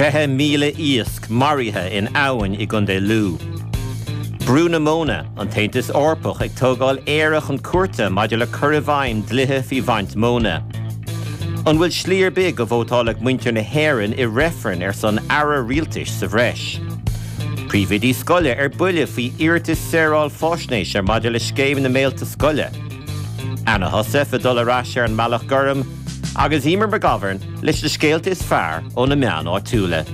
20,000 iasc maraithe in abhainn i gContae Lú. Brú na Móna, An tAontas Eorpach ag tógáil Éire chun cúirte maidir le cur i bhfeidhm dlíthe faoi bhaint móna. An bhfuil slí ar bith go vótálfadh muintir na hÉireann i reifreann ar son aire rialtais sa bhreis? Príomhoidí scoile ar buile faoi iarratas saoráil faisnéise maidir le scéim na mbéilte scoile. Anna Heussaff ag dul ar ais ar an mBealach Gorm agus Eimear McGovern leis na scéalta is fearr ó na meáin áitiúla.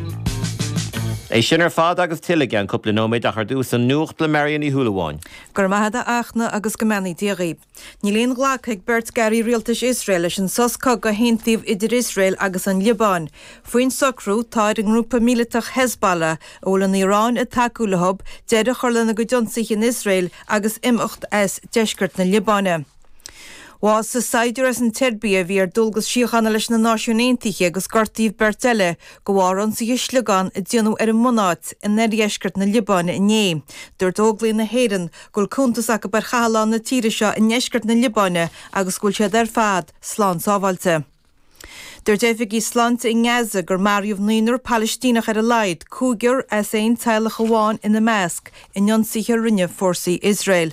É sin ar fad agus tuilleadh i gceann cúpla nóiméad ach ar dtús an nuacht le Marion Ní Shúilleabháin. Go raibh maith agat a Fhachtna agus go mbeannaí Dia dhaoibh. Níl aon ghlactha ag beirt d'airí rialtais Iosrael leis an sos cogaidh a haontaíodh idir Iosrael agus an Liobáin. Faoin socrú, tá ar an ngrúpa míleatach Hezbollah, a bhfuil an Iaráin ag tacú leo, deireadh a chur lena gcuid ionsaithe in Iosrael agus imeacht as deisceart na Liobáine. Bhásaigh saighdiúir as an tSeirbia a bhí ar dualgas síochána leis na Náisiúin Aontaithe agus gortaíodh beirt eile de bharr ionsaithe sliogán a déanadh ar an mbunáit in oirdheisceart na Liobáine inné. Dúirt Óglaigh na hÉireann go bhfuil cuntas acu ar chathlán na tíre seo i ndeisceart na Liobáine agus go bhfuil siad ar fad slán sábháilte. Dúirt oifigigh sláinte i nGaza gur maraíodh naonúr Palaistíneach ar a laghad, cúigear as aon teaghlach amháin ina measc, in ionsaithe a rinne fórsaí Iosrael.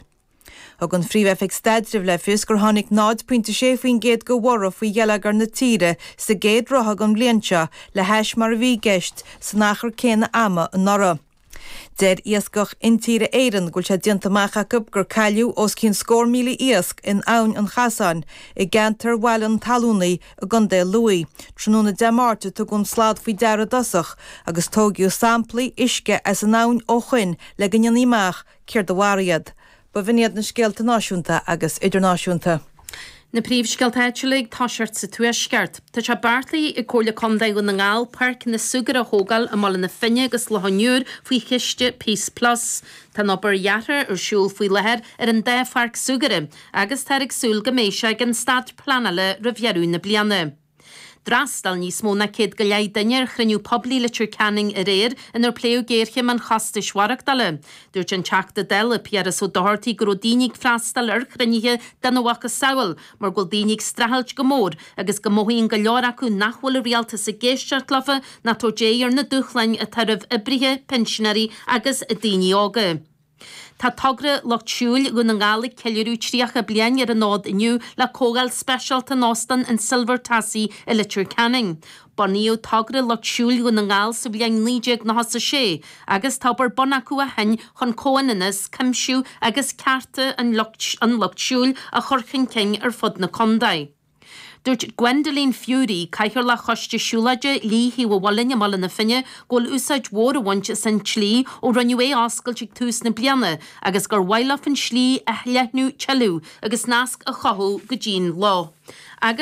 Thug an Phríomh-Oifig Staidrimh le fios gur tháinig 0.6% de bhorradh faoi gheilleagar na tíre sa gcéad ráithe den bhliain seo le hais mar a bhí i gceist san achar céanna ama anuraidh. Deir Iascach Intíre Éireann go bhfuil sé déanta amach acu gur cailleadh os cionn scór míle iasc in Abhainn an Chasáin i gceantar Bhaile an Talúnaigh i gContae Lú. Tráthnóna Dé Máirt a tugadh an slad faoi deara i dtosach agus tóigeadh samplaí uisce as an abhainn ó shoin le go ndéanfaí amach céard a mharaigh iad. B'in iad na scéalta náisiúnta agus idirnáisiúnta. Na príomhscéalta áitiúla ag toiseacht sa Tuaisceart. Tá sé beartaithe ag Comhairle Contae Dhún na nGall Páirc na Súgartha a thógáil i mBaile na Finne agus Loch an Iúir faoi chiste Peace Plus. Tá an obair dheartha ar siúl faoi láthair ar an dá pháirc súgartha agus táthar ag súil go mbeidh sé ag an staid pleanála roimh dheireadh na bliana. D'fhreastail níos mó ná 150 duine ar chruinniú poiblí Leitir Ceanainn aréir inar pléadh géarchéim an chostais mhaireachtála. Dúirt an Teachta Dála Piaras Ó Dochartaigh go raibh daoine ag freastal ar chruinnithe dena mhacasamhail mar go bhfuil daoine ag streachailt go mór agus go mothaíonn go leor acu nach bhfuil an rialtas ag éisteacht leofa ná tabhairt aghaidh ar na dúshláin atá roimh oibrithe, pinsinéirí agus daoine óga. Tá Togra Lucht Siúil Dhún na nGall ag ceiliúradh 30 bliain ar an fhód inniu le comhdháil speisialta in Óstán an Silver Tassie i Leitir Ceanainn. Bunaíodh Togra Lucht Siúil Dhún na nGall sa bhliain 1996 agus tá obair ar bun acu ó shin chun comhionannas, cuimsiú agus cearta an lucht siúil a chur chun cinn ar fud na contae. Dúirt Gwendoline Furey, Cathaoirleach Choiste Siúlóide Shlí Thaobh an Mhuilinn i mBaile na Finne, go bhfuil úsáid mhór á bhaint as an tslí ó rinneadh é a oscailt ag tús na bliana agus gur mhaith leo an tslí a leathnú tuilleadh agus nasc a chothú go dtí'n loch. Agus.